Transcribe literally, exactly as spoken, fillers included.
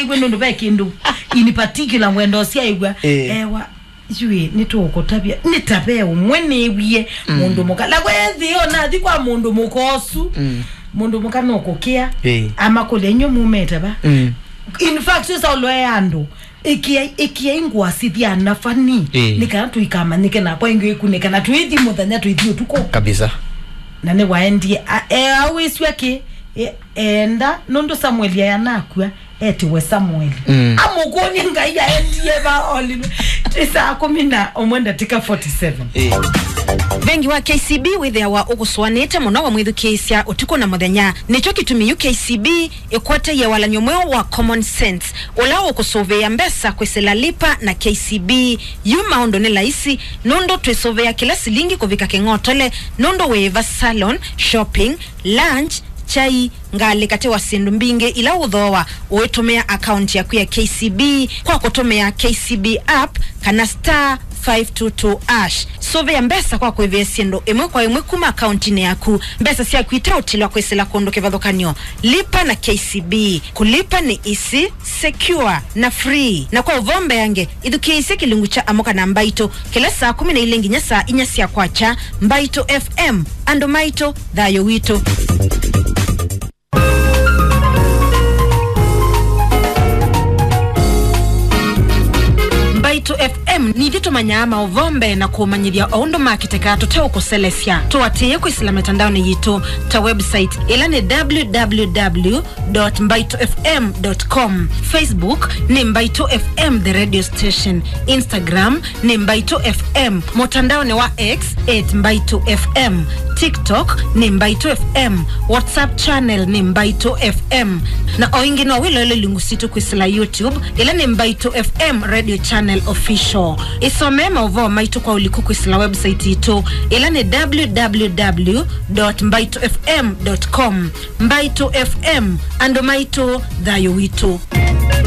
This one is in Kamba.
Kwĩ nũndũ ve kĩndũ in particular ngwenda ũsyaĩw'a. Eh. Ewa, yui, nĩtũũkũtavya. Nĩ ta ve ũmwe nĩwie mũndũ mũka. Na kwethĩo nathi kwa mũndũ mũka ũsu. Mm. Mũndũ mũka nũkũkĩa. Eh. Amakũlya, "Inyw'ĩ mumĩte va?" Mm. In fact, ũsa ũloea andũ. Ĩkĩai, ĩkĩai ngũa sithya na fani. Eh. Nĩ kana tũikamanyĩke nakwa ĩngĩ ĩkunĩke na tũithi mũthenya tũithi ũtukũ. Kabisa. Na nĩwaendie. A-, e, awĩsw'a kĩ? E, enda, nũndũ Samueli aya nakua. Etiwe Samueli. Mm. Amũkũnye Ngai aendie va olilwe. Ti saa kũmi na ũmwe ndatĩka forty-seven. Eh. Vengi wa K C B wĩthĩawa ũkũsũanĩte mũno wamwĩthukĩĩsya ũtukũ na mũthenya. Nĩkyo kĩtumi yu K C B ĩkwatĩie walany'o mweũ wa Common Sense, ũla ũkũsũvĩĩa mbesa kwĩsĩla Lipa na K C B. Yu maũndũ nĩ laisi, nũndũ twĩsũvĩĩa kĩla silingi kũvika kĩng'otole, nũndũ wĩĩva salon, shopping, lunch, kyai, ngalĩ katĩ wa syĩndũ mbingĩ ila ũthooa ũitũmĩa akaunti yaku ya K C B kwa kũtũmĩa K C B app kana star five two two hash. Sũvĩa mbesa kwa kũĩvĩa syĩndũ ĩmwe kwa ĩmwe kuma akauntinĩ yaku. Mbesa syaku iteũtilwa kwĩsĩla kũndũ kĩvathũkany'o. Lipa na K C B. Kũlipa nĩ easy, secure, na free. Na kwa ũvoo mbeange, ĩthukĩĩsye kĩlungu kya Amũka na Mbaitũ kĩla saa kũmi na ilĩ nginya saa inya sya kwakya. Mbaitũ F M, andũ maitũ, thayũ witũ. Mbaitũ F M nĩ ithyĩ tũmanyaa maũvoo mbee na kũũmanyĩthya o ũndũ makĩtekaa tũteũkũselesya. Tũatĩĩe kwĩsĩla mĩtandaonĩ yitũ ta website, ĩla nĩ w w w dot mbaitũ f m dot com. Facebook nĩ Mbaitũ F M The Radio Station. Instagram nĩ Mbaitũ F M. Mũtandaonĩ wa X at Mbaitũ F M. TikTok nĩ Mbaitũ F M. WhatsApp channel nĩ Mbaitũ F M. Na o ĩngĩ no wĩloele ilungu sitũ kwĩsĩla YouTube, ĩla nĩ Mbaitũ F M Radio Channel Official. Ĩsomee maũvoo maitũ kwa ũliku kwĩsĩla website itũ, ĩla nĩ w w w dot mbaitũ f m dot com. Mbaitũ F M, andũ maitũ, thayũ witũ.